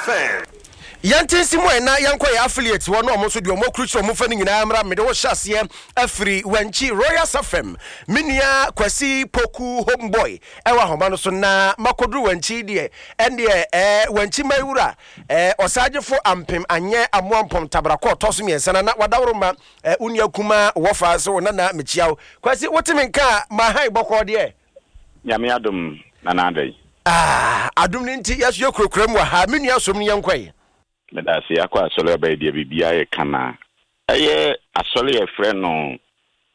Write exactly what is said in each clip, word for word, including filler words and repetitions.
F M. Yɛnte nsi mu ɛna yɛnkɔ yɛ affiliate hɔ na ɔmo nso deɛ ɔmo akurukyerɛ ɔmo fa no nyinaa mmra. Mede wo hyɛ aseɛ afiri Wankyi Royal F M, me nua Kwasi Poku Homeboy ɛwɔ ahoma no so, na makɔduru Wankyi deɛ, ɛndeɛ ɛɛ Wankyi mawura ɛɛ ɔsagyefo ampem anyɛ amoampɔm tabrakɔ ɔtɔ so mmiɛnsa na na wadaworo ma ɛɛ wo nua kuma wɔfa so wo nana. Mekyia wo, Kwasi. Wote me nka a, mahan bɔkɔɔ deɛ? Nyame adom, Nana Adai. Ah, adom no nti yɛso yɛkurakura mu wɔ ha. Me nua, som no, yɛnkɔe. Meda ase. Akɔ asɔre aba yi deɛ, biribiara yɛ kama. Ɛyɛ asɔre a yɛfrɛ no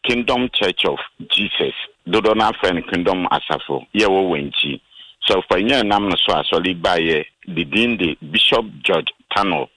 Kingdom Church of Jesus, dodoɔ no afrɛ no Kingdom Asafo, yɛwɔ Wankyi sɛ ɔfanyin nam no so. Asɔre baeɛ de din de Bishop George Tano.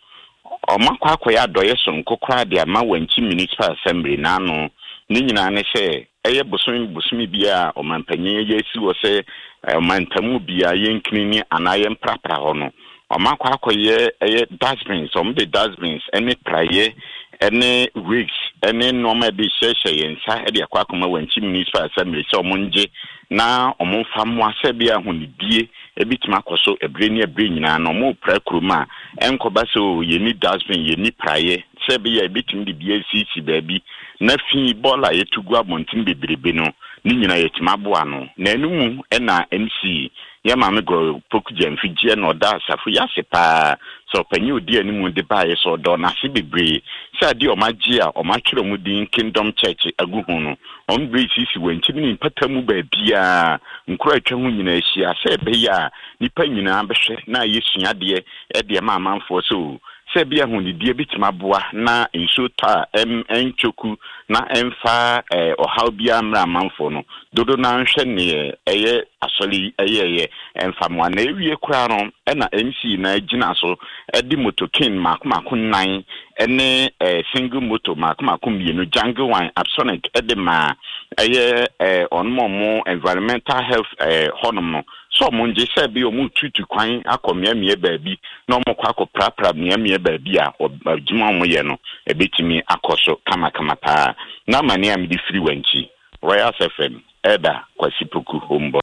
Ɔmo akɔ akɔyɛ adɔyɛ sononko koraa de ama Wankyi Municipal Assembly n'ano. Ne nyinaa ne sɛ ɛyɛ bosome bosome bi a ɔmanpanyin yɛ asi wɔ sɛ ɔmantamu biara yɛnkinini anaa yɛmprapra hɔ no, ɔmo akɔ akɔyɛ ɛyɛ dustbins. Ɔmo de dustbins ɛne praeɛ ɛne rakes ɛne nneɛma ɛde hyehyɛ yɛn nsa ɛde akɔ akɔma Wankyi Municipal Assembly sɛ ɔmo ngye na ɔmo mfa mmoa sɛ bi ahonidie ebi tumi akɔ so ebire ne ebire nyinaa na ɔmo pra kurom a ɛnkɔba sɛ o yɛni dustbin, yɛni praeɛ, sɛ ɛbɛyɛ a ebitumi de bi asisi baabi na fi bɔɔla a yɛtu gu abɔnten bebrebe no ne nyinaa yɛtumi aboa no. Na ɛno mu ɛna M C yɛ maame Gɔ Poku Gyamfi gyeɛ na ɔda asafo yi ase paa sɛ ɔpanyin odi anim de baeɛ sɛ ɔdɔ n'ase bebree sɛ adeɛ ɔmo agye a ɔmo atwerɛ ɔmo din Kingdom Church agu ho no, ɔmo bere sisi wɔn nkyɛn ne mpata mu baabiara nkuro a atwa ho nyinaa ahyia sɛ ɛbɛyɛ a nipa nyinaa bɛhwɛ na ayɛ suadeɛ ɛde ɛma amanfoɔ sɛ o sɛ ebi ahonidie bitumi aboa na nsuo tɔ a ɛm ɛntwoku na ɛmfa ɛɛ ɔhaw biara mmerɛ amanfoɔ no dodo na nhwɛ neɛ ɛyɛ asɔre yi ɛyɛɛyɛ ɛmfa mmoa. Na ewie koraa no, ɛna M C na gyina so ɛde motokin mako mako nnan ɛne ɛɛ single moto mako mako mmienu, Jungle One Apsonic, ɛde maa ɛyɛ ɛɛ ɔnom ɔmo environmental health ɛɛ hɔnom no sɛ ɔmo ngye sɛ bi ɔmo tutu kwan akɔ mmeammea baabi na ɔmo kɔ akɔ prapra mmeammea baabi a adwuma a ɔmo yɛ no ebetumi akɔ so kamakama paa. Na amane a mede firi wɔn akyi, Royal F M, ɛda Kwasi Poku Homeboy.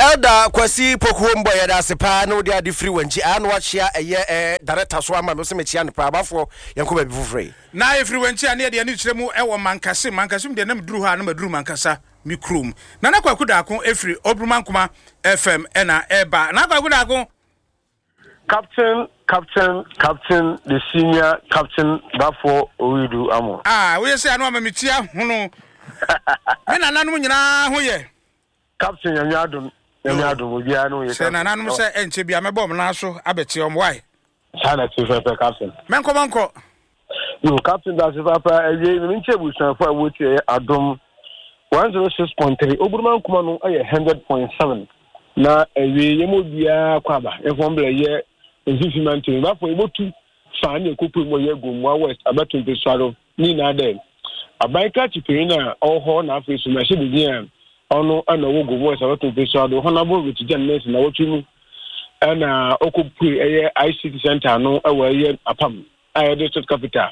Elder Kwasi Poku Homeboy, yɛda ase paa na wode ade firi wɔn akyi aa na wakyea ɛyɛ ɛɛ director so ama me sɛ mekyea no paa. Abafoɔ, yɛnkɔ baabi foforɔ yi. Na ɛfiri wɔn a ne yɛde ani kyerɛ mu ɛwɔ Mankase. Mankase mu deɛ, na meduru hɔ a na maduru mankasa me kurom. Nana Kwaku Daako ɛfiri Oburumankoma F M ɛna ɛba. Nana Kwaku Daako. Captain, Captain, Captain, the senior Captain Bafo Owidu Amo. Ah, woyɛ sɛ ano ama me ti ahono. Me nananom nyinaa ho yɛ? Captain, Nyame adom, Nyame adom, obiara no yɛ. Sɛ nananom sɛ ɛnkyɛ bia mɛbɔ ɔmo nan so abɛkyɛ ɔmo wae. Saa na ti fɛfɛ, Captain. Mɛnkɔ mɔnkɔ. Yo, Captain, dase papa. Awie mi nkyɛn abusuafo a wɔtie ɛyɛ Adom one zero six point three, Oburuma Nkuma no ɛyɛ hundred point seven. Na awie yɛn mu obiara kɔ aba yɛn fɔm yɛ mfimfini mantam bafo yɛbɛtu fa ne ekoko mu ɔyɛ Gomoa West abɛto mpesua ne nyinaa dɛ aban krakye panyin a ɔwɔ hɔ na afei so mmarahyɛ bedin a ɔno ɛna ɔwɔ Gomoa West abɛto mpesua do, Honourable Richard Jan na wɔtwe mu ɛna ɔkɔpue ɛyɛ I C T center no ɛwɔ ɛyɛ Apam a ɛyɛ district capital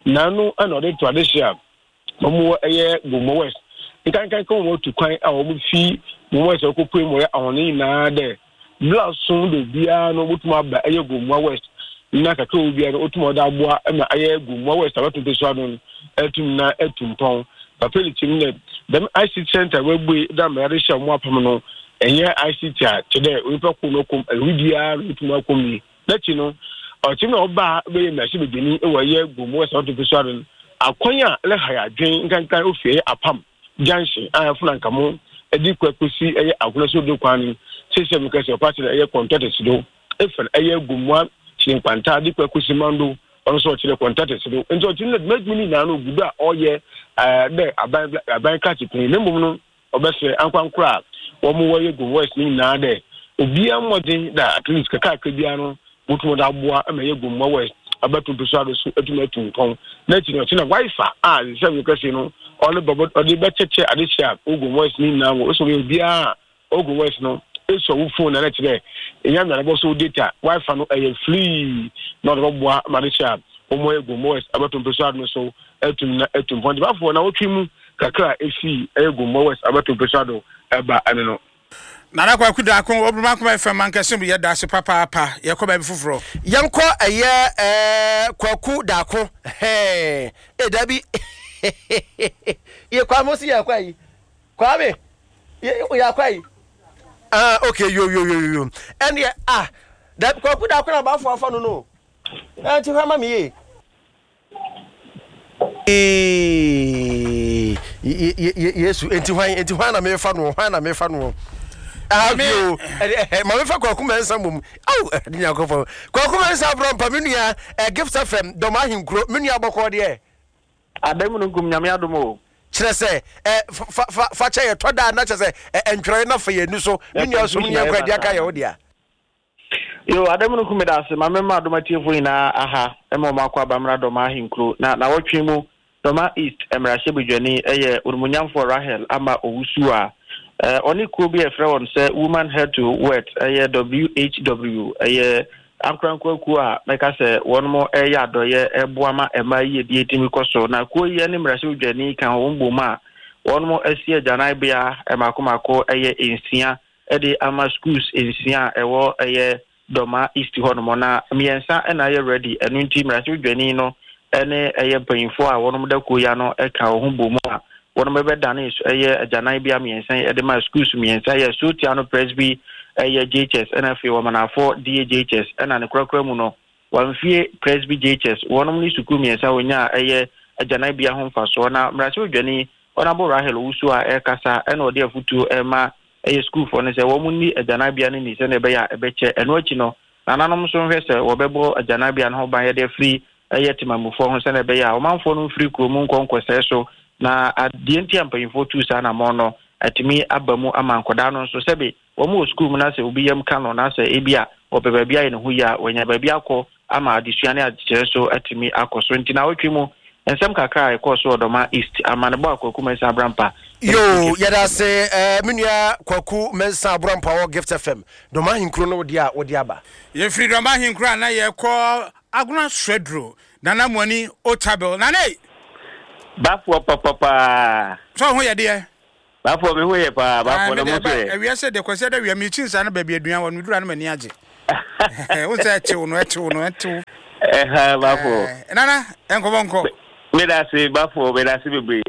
n'ano, ɛna ɔde to adehyɛ a wɔn wɔ ɛyɛ Gomoa West nkankanka wɔn atu kwan a wɔn fi Gomoa West ɔkɔpue mu ɔyɛ ahɔne nyinaa dɛ bla so de obiara no wotumi aba ɛyɛ Gomoa West na kakra wo biara no wotumi ɔde aboa ma ɛyɛ Gomoa West abɛto mpesua no atum na atu mpɔn. Papa ne kyim dɛ dɛm I C T center wabue dɛ ama yɛde hyɛ ɔmo apam no, ɛnyɛ I C T a kyɛ dɛ onipa ko no kɔm ɛho biara no wotumi akɔm yi. N'akyi no, ɔkyim na ɔbaa bɛyɛ mmarahyɛ badwani wɔ ɛyɛ Gomoa West abɛto mpesua no akwan a ɛlɛha yɛ adwen nkankan ofi ɛyɛ Apam junction a ɛfuna nkamo ɛde kɔ akɔsi ɛyɛ Agona so do kwan no sisi mu kɛse ɔpa kyerɛ ɛyɛ contractors do efa ɛyɛ Gomoa kyerɛ Nkwanta de kɔ akɔsi Mando, ɔno nso ɔkyerɛ contractors do. Nti ɔkyerɛ no dwumadwuma no nyinaa no ogu do a ɔyɛ ɛɛ dɛ aban aban krakye panyin. Na mmom no ɔbɛsrɛ ankorankora a wɔn wɔyɛ Gomoa West no nyinaa dɛ obiara mmɔden da at least kakrakra biara no wotum de aboa ma ɛyɛ Gomoa West abɛto mpeso ado so atumi atu mpɔn. N'akyi no, ɔkyerɛ na wifi a sɛ mi kɛse no ɔne bɔbɔ ɔde bɛkyɛkyɛ adehyɛ a ogu West no nyinaa wɔ ɔsɔ obiara a ogu West no esɔ wo phone na n'akyerɛ ɛnya mmerɛ bɔ so data wifi no ɛyɛ free na ɔde bɛboa ma adehyɛ a wɔn yɛ Gomoa West abɛto mpeso ado no so atum na atu mpɔn. Nti bafoɔ na wɔtwe mu kakra a efi ɛyɛ Gomoa West abɛto mpeso ado ɛba ɛno no. Nana Kwaku Daako, Oburumankoma F M Mankɛse mu, yɛda ase papaapa. Yɛkɔ baabi foforɔ. Yɛnkɔ ɛyɛ ɛɛ Kwaku Daako. Hɛn e dabi yɛ Kwame si yɛ kɔ yi Kwame yɛ yɛ akɔ yi ah okay yo yo yo yo ɛnneɛ ah dabi Kwaku Daako na abaafo afa no no ɛnti hwɛ ama mi yie. Yesu enti hwan enti hwan na mefa no hwan na mefa no ah yo ma mefa Kwaku Mensah mom aw de Nyankopɔn Kwaku Mensah brɔmpa me nua Gift F M dɔm ahenkuro me nua bɔkɔ deɛ Adamu no nkum Nyame adom o. Kyerɛ sɛ fa fa fa kyɛ yɛ tɔ da na kyerɛ sɛ ntwerɛ na fa yɛ ni so me nua som ne yɛnkɔ adi aka yɛ wo dea. Yo, Adamu no kum da ase ma mema adom atiefo nyinaa aha ma ɔmo akɔ abamra dɔm ahenkuro na na wɔtwe mu Dɔma East mmarahyɛ badwani yɛ onimonyamfoɔ Rahel Ama Owusu a ɔne kuo bi a ɛfrɛ wɔn sɛ Woman Head to Wet ɛyɛ W H W ɛyɛ ankorankoa kuo a mɛka sɛ wɔn ɛyɛ adɔyɛ ɛboa ma mmaa yiedie tumi kɔ so na kuo yi ne mmarahyɛ badwani ka wɔn bom a wɔn asi agyananbea mako mako ɛyɛ nsia ɛde ama schools nsia a ɛwɔ ɛyɛ Dɔma East hɔ nom na mmiɛnsa ɛna ayɛ ready ɛno nti mmarahyɛ badwani no ɛne ɛyɛ mpanyinfoɔ a wɔnom da kuo ya no ɛka wɔn ho bɔ mu a wɔnom bɛdane ɛyɛ agyananbea mmiɛnsa ɛde ma schools mmiɛnsa yɛ Sotiano Presby ɛyɛ J H S ɛna afei Wɔmanafo D A J H S ɛna ne korakora mu no Wɔmfie Presby J H S wɔnom ne sukuu mmiɛnsa wɔnya ɛyɛ agyananbea ho mfasoɔ na mmarahyɛ badwani Honorable Rahel Owusu a ɛrekasa ɛna ɔde afutuo ɛma ɛyɛ sukuufoɔ no sɛ wɔn nni agyananbea no ni sɛnea ɛbɛyɛ a ɛbɛkyɛ ɛno akyi no nananom nso nhwɛ sɛ wɔbɛbɔ agyananbea no ho ban yɛde afiri ɛyɛ temamufoɔ ho sɛnea ɛbɛyɛ a ɔmanfoɔ no mfiri kurom nkɔ nkɔsɛɛ so na adeɛ nti a mpanyinfoɔ tuu saa anamɔn no atumi aba mu ama nkɔdaa no nso sɛbe wɔn wɔ sukuu mu na sɛ obi yam ka no na sɛ ebi a wɔpɛ baabi ayɛ ne ho yie a wɔanya baabi akɔ ama adesua ne adekyerɛ so atumi akɔ so nti na awɔtwe mu nsɛm kakra a ɛkɔɔ so wɔ Dɔma East ama ne bɔ a Kwaku Mensah Abrampa. Yo, yɛda ase eh, me nua Kwaku Mensah Abrampa wɔ Gift F M Dɔma Ahenkuro no wode a wode aba. Yɛfiri Dɔma Ahenkuro a na yɛkɔ Agona Swedru Nana Mwani Otabil Nana ei! Bafoɔ papapaa. Sɛ ɔho yɛ deɛ? Bafoɔ me ho yɛ paa, bafoɔ na mo so yɛ. Awia sɛ deɛ Kwasi ada wia mekyi nsa no baabi aduan wɔ no meduru a no m'ani agye. Wo sɛ ɛkyew no ɛkyew no ɛkyew. Ɛha bafoɔ. Nana ɛnkɔbɔ nkɔ. Meda ase bafoɔ, meda ase bebree.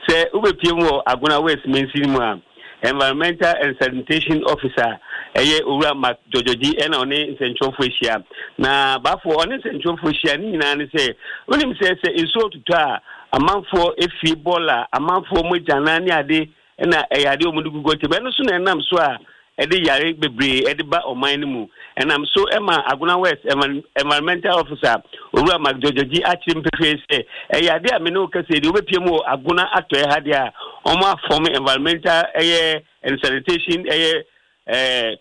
Sɛ wobɛpie mu wɔ Agona West Mansin mu a, Environmental and Sanitation Officer ɛyɛ Owura Mark Jojoji ɛna ɔne nsɛntwerɛfoɔ ahyia. Na bafoɔ ɔne nsɛntwerɛfoɔ ahyia ne nyinaa ne sɛ wonim sɛ sɛ nsuo totɔ a amanfoɔ efie bɔɔla amanfoɔ mogyanan ne ade ɛna ɛyɛ ade wɔn de gugu ɔtɛ bɛno so na ɛnam so a ɛde yare bebree ɛde ba ɔman no mu ɛnam so ɛma Agona West Environmental Officer Owura Mark Jojoji akyerɛ mpefee sɛ ɛyɛ ade a me ne wo kasa yi deɛ wobɛpie mu wɔ Agona atɔeɛ ha deɛ a wɔn afɔm environmental ɛyɛ and sanitation ɛyɛ ɛɛ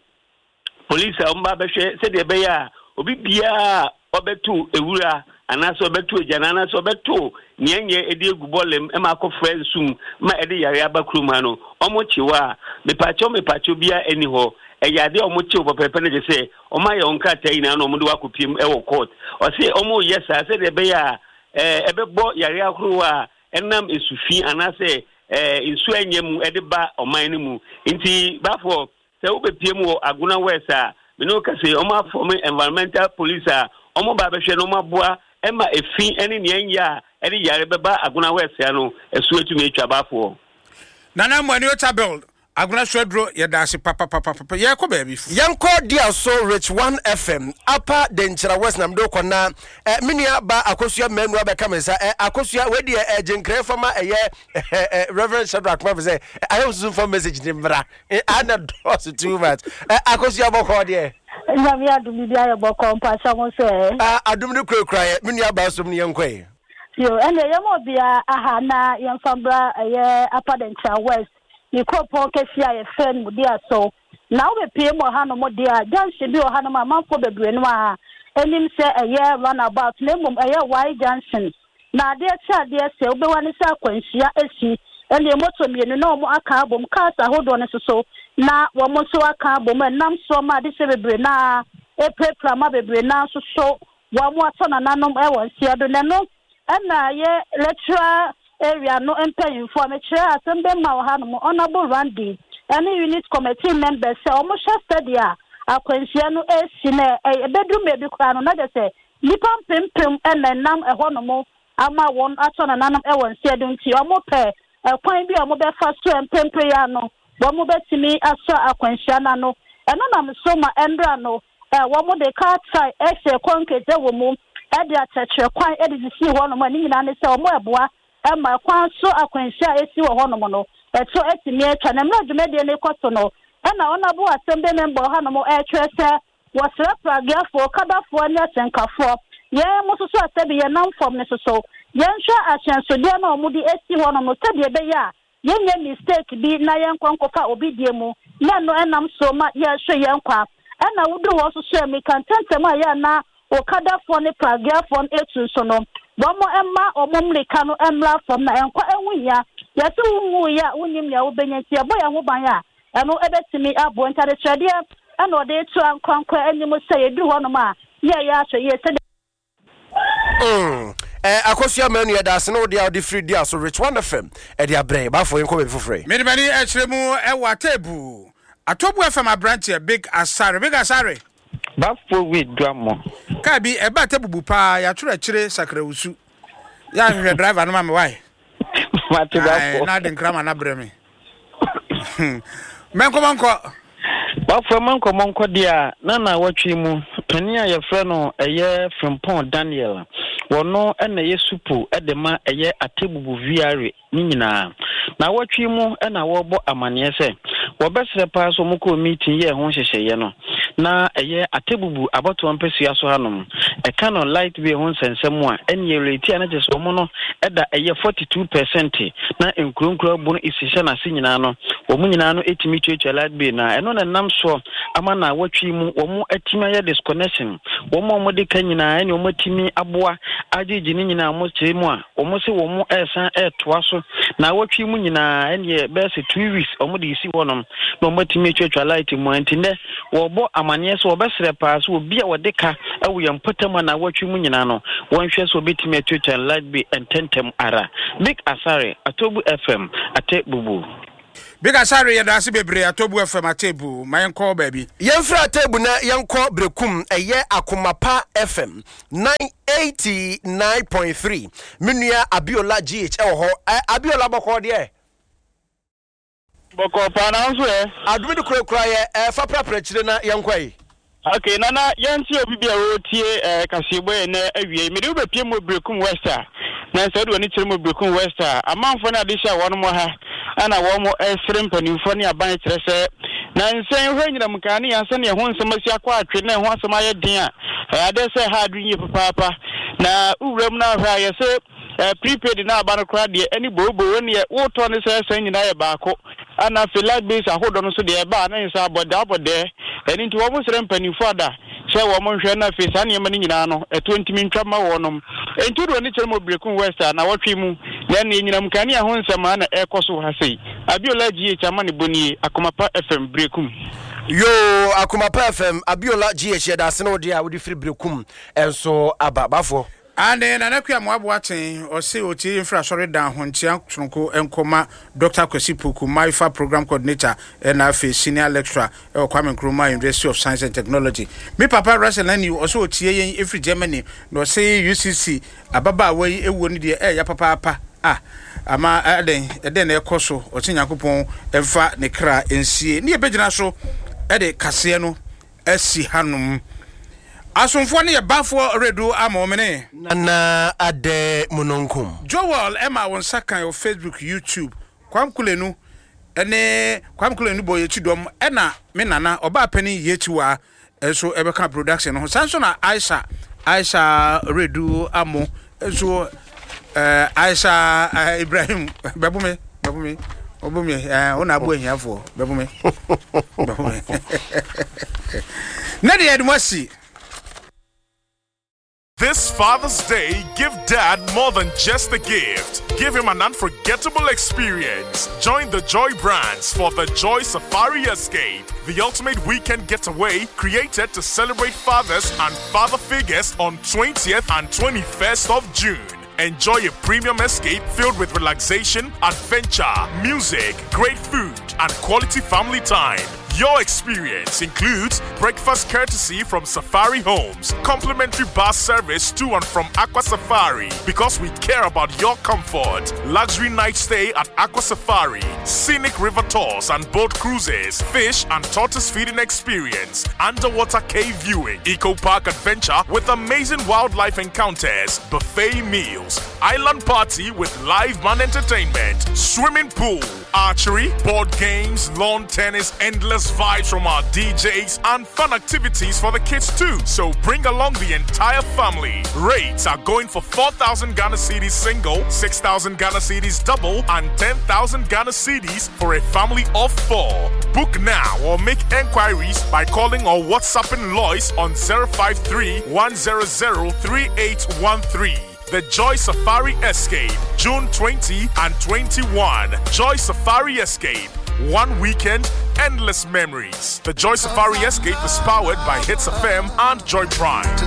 police a wɔn ba bɛhwɛ sɛdeɛ ɛbɛyɛ a obi biara ɔbɛto ewura anaasɛ ɔbɛto agyana anaasɛ ɔbɛto nea nyɛ ɛde egu bɔɔlem ɛma akɔfra nsum ma ɛde yare aba kurom ha no wɔn kyew a mepaakyɛw mepaakyɛw biara ɛni hɔ ɛyɛ adeɛ a wɔn kyew pɛpɛɛpɛ no gye sɛ wɔn ayɛ wɔn krataa nyinaa na wɔn de wakɔ piem ɛwɔ court ɔse wɔn yɛ saa sɛdeɛ ɛbɛyɛ a ɛɛ ɛbɛbɔ yare ahorow a ɛnam esufi anaasɛ ɛɛ nsuo ɛnyɛ mu ɛde ba ɔman no mu nti baafoɔ sɛ wobɛpie mu wɔ Agona West a mene wo kase wɔn afɔm environmental police a wɔn ba abɛhwɛ na wɔn aboa ɛma efi ɛne nea nyɛ a ɛde yare bɛba Agona West ya no ɛso etumi atwa baafoɔ. Nana Mwani Otabil Agona Swedru yɛda ase papapapapa yɛkɔ baabi. Yɛnkɔ Diaso Rich one F M Upper Denkyira West na mede wokɔ na eh, me nua ba Akosua Manu abɛka me nsa eh, Akosua wei deɛ eh, gyenkran fama ɛyɛ eh, eh, Reverend Shadrach ma sɛ ayɛ wosusu fa message ne mmra eh, ana dɔɔso too much eh, Akosua bɔkɔɔ deɛ. Nyame adom biribi ayɛ bɔkɔɔ mpakyɛ mo sɛ. Ah, adom no kurakura yɛ me nua ba som ne yɛnkɔ yi. Yo, ɛnna yɛma obia aha na yɛmfa mbra ɛyɛ Upper Denkyira West ne kuropɔn kɛseɛ a yɛfrɛ no Diaso. Na wobɛpie mu wɔ hanom deɛ a junction bi wɔ hanom a amanfoɔ bebree no a anim sɛ ɛyɛ runabout na mmom ɛyɛ Y junction. Na adeɛ kyɛ adeɛ sɛ wobɛwa ne sɛ akwanhyia asi ɛne moto mmienu na wɔn aka abom cars ahodoɔ no nso so na wɔn nso aka abom ɛnam soɔ ma adehyɛ bebree na epirapira ma bebree na nso so wɔn atɔ nananom ɛwɔ nsia do na ɛno ɛna yɛ electoral area no mpanyinfoɔ a mekyerɛ asɛm bɛma wɔ hanom Honorable Randy Ɛne unit committee members sɛ wɔn hyɛ sɛdeɛ akwanhyia no esi na ɛbɛduru mmebi koraa no, na kyerɛ sɛ nnipa mpempem ɛna ɛnam ɛhɔnom ama wɔn atɔ nananom ɛwɔ nseɛ do. Nti wɔn pɛ ɛkwan bi a wɔn bɛfa so mpempem yi ano wɔn bɛtumi asɔ akwanhyia n'ano. Ɛno nam so ma ɛnra no ɛ wɔn de car tyre ɛhyɛ concrete ɛwɔ mu ɛde akyerɛkyerɛ kwan ɛde sisi hɔnom a ne nyinaa ne sɛ wɔn ɛboa ɛma kwan so akwanhyia a esi wɔ hɔnom no ɛto ɛtumi atwa. Na mmerɛ dwumadie no kɔ so no, ɛna ɔnabo assembly member hanom ɛretwerɛ sɛ wɔsrɛ pragiafoɔ, kadafoɔ ne ahyɛnkafoɔ, yɛn mo soso asɛbi yɛn nam fam ne soso yɛnhwɛ ahyɛnsodeɛ no a wɔde esi hɔnom no sɛdeɛ ɛbɛyɛ a yɛnyɛ mistake bi na yɛnkɔ nkɔfa obi die mu na ɛno ɛnam so ma yɛhwɛ yɛn kwa. Ɛna woduru hɔ soso mmirika ntɛntɛm a yɛ ana okadafoɔ ne pragiafoɔ no etu nso no, wɔn mma wɔn mmirika no mmra fam na ɛnkɔ ɛho hia. Yɛsɛ wunwu yɛ a wonim nea wobɛnya, nti yɛbɔ yɛn ho ban a ɛno ɛbɛtumi aboɔ. Ntadekyerɛdeɛ ɛna ɔde to ankorankora anim sɛ yɛduru hɔnom a yɛyɛ ahwɛ yie sɛdeɛ Mm. Eh, Akosua Manu, yɛda ase ne wode a wode firi di aso Rich One F M ɛde abrɛ baafoɔ. Yɛnkɔ baabi foforɔ yi. Mede m'ani akyerɛ mu ɛwɔ Atebu Atobu F M, aberanteɛ Big Asare, Big Asare. Bafo wi dua mo. Kaa bi ɛba Atebubu paa, yɛatwerɛ akyire Sakrawusu. Yɛahwehwɛ driver no ma me wae. Mate bafo. Na ade nkrama no abrɛ me mɛnkɔmɔnkɔ. Bafo, ɛma nkɔmmɔ nkɔ deɛ a na na wɔtwe mu panin a yɛfrɛ no ɛyɛ Frimpɔn Daniel, wɔno ɛna ɛyɛ supo ɛde ma ɛyɛ Atebubu V R A ne nyinaa. Na wɔtwe mu ɛna wɔrebɔ amanneɛ sɛ wɔbɛsrɛ paa sɛ wɔkɔɔ meeting yɛɛ ho nhyehyɛeɛ no na ɛyɛ Atebubu abɔtoɔ mpɛsua so hanom ɛka no light bill ho nsɛnsɛm a ɛne yɛreti a na kyerɛ sɛ wɔn no ɛda ɛyɛ forty-two percent na nkuronkuro abo no esi hyɛ n'ase nyinaa no, wɔn nyinaa no ɛtumi tuatua light bill, na ɛno na nam soɔ ama na wɔtwe mu wɔn atumi ayɛ disconnection. Wɔn a wɔde ka nyinaa ɛne wɔn atumi aboa agyegye ne nyinaa, wɔn kyerɛ mu a wɔn sɛ wɔn ɛresan ɛretoa so na wɔtwe mu nyinaa ɛneɛ bɛyɛ sɛ two weeks wɔn de esi hɔnom na wɔn atumi atwatwa light mu. Nti nnɛ wɔrebɔ amanneɛ sɛ wɔbɛsrɛ paa sɛ obi a wɔde ka ɛwɔ yɛn mpɔtam a na wɔtwe mu nyinaa no, wɔnhwɛ sɛ wɔbɛtumi atuatua light bill ntɛntɛm ara. Big Asare, Atobu F M, Ate Bubu. Big Asare, yɛda ase bebree. Atobu F M, Atebu. Ma yɛnkɔ baabi. Yɛmfiri Atebu na yɛnkɔ Berekum, ɛyɛ Akomapa F M eighty-nine point three. Me nua Abiola G H ɛwɔ hɔ. Ɛ, Abiola, bɔkɔɔ deɛ? Bɔkɔ paa, na nso ɛ? Adome de kurakura yɛ ɛfa prapra akyire na yɛnkɔ yi. Ok, Nana, yɛnte obi bi a wɔretie ɛɛ kaseɛbɔ yɛ nɛ awie. Mede wobɛpie mu Berekum West a, na sɛ wode w'ani kyerɛ mu Berekum West a, amanfoɔ no ade hyɛ a wɔn ha ɛna wɔn ɛsere mpanimfoɔ ne aban kyerɛ sɛ na nsɛn hwɛ nyinam nkanea sɛnea ɛho nsɛm asi akɔ atwe na ɛho asɛm ayɛ den a ɛyɛ adeɛ sɛ ha adwene yie papaapa. Na wowura mu no ahwɛ a, yɛsɛ eh, prepaid na aba no koraa deɛ ɛne booboo neɛ wotɔ ne sɛ ɛsɛn nyinaa yɛ baako, ana afei light bills ahodoɔ no nso deɛ ɛba a na nsa abɔdɛ abɔdɛ. Ɛno nti wɔn srɛ mpanimfoɔ ada sɛ wɔn nhwɛ na afei saa nneɛma no nyinaa no ɛtoɔ ntumi ntwa ma wɔnom. Nti wode w'ani kyerɛ mu Berekum West a, na wɔtwe mu na ɛne nyinam kanea ho nsɛm a na ɛrekɔ so wɔ ha sei. Abiola G H ama ne bɔnie, Akomapa F M, Berekum. Yo, Akomapa F M, Abiola G H, yɛda ase ne wode a wode firi Berekum ɛnso aba bafoɔ. Ane Nana Kua Mmoaboa ten ɔse ɔtie mfiri asɔre dan ho nkyea sononko nkɔma Doctor Kwasi Poku, MAIFA program coordinator, ɛna afei senior lecturer ɛwɔ Kwame Nkrumah University of Science and Technology. Me papa Russell Nani ɔsɛ ɔtie yɛn ɛfiri Germany, na ɔsɛ U C C ababaawa yi ɛwuo no deɛ ɛyɛ papaapa a ama ɛdɛn ɛdɛn na ɛkɔ so. Ɔsɛ Nyankopɔn ɛmfa ne kra nsie ne yɛbɛgyina so ɛde kaseɛ no asi hanom. Asomfoɔ no yɛ bafoɔ redu ama ɔmene. Nana Adɛ Munonkum. Joel ɛma wo nsa kan wɔ Facebook, YouTube. Kwam Kulenu ɛne Kwam Kulenu bɔ yɛkyi dɔm, ɛna me nana ɔbaa panin yɛkyiwa nso ɛbɛka production no ho. Saa nso na Aisha Aisha redu amo nso, ɛɛ Aisha ɛɛ Ibrahim bɛbo me bɛbo me ɔbo me ɛɛ ɔna abo ahiafoɔ bɛbo me bɛbo me ne deɛ ɛde mo asi. This Father's Day, give Dad more than just a gift. Give him an unforgettable experience. Join the Joy Brands for the Joy Safari Escape, the ultimate weekend getaway created to celebrate fathers and father figures on twentieth and twenty-first of June. Enjoy a premium escape filled with relaxation, adventure, music, great food, and quality family time. Your experience includes breakfast courtesy from Safari Homes, complimentary bus service to and from Aqua Safari because we care about your comfort, luxury night stay at Aqua Safari, scenic river tours and boat cruises, fish and tortoise feeding experience, underwater cave viewing, eco park adventure with amazing wildlife encounters, buffet meals, island party with live band entertainment, swimming pool, archery, board games, lawn tennis, endless vibes from our D Js, and fun activities for the kids too. So bring along the entire family. Rates are going for four thousand Ghana cedis single, six thousand Ghana cedis double, and ten thousand Ghana cedis for a family of four. Book now or make enquiries by calling or WhatsApping Lois on zero five three one hundred three eight one three. The Joy Safari Escape, June twenty and twenty-one. Joy Safari Escape. One weekend, endless memories. The Joy Safari Escape is powered by Hits F M and Joy Prime.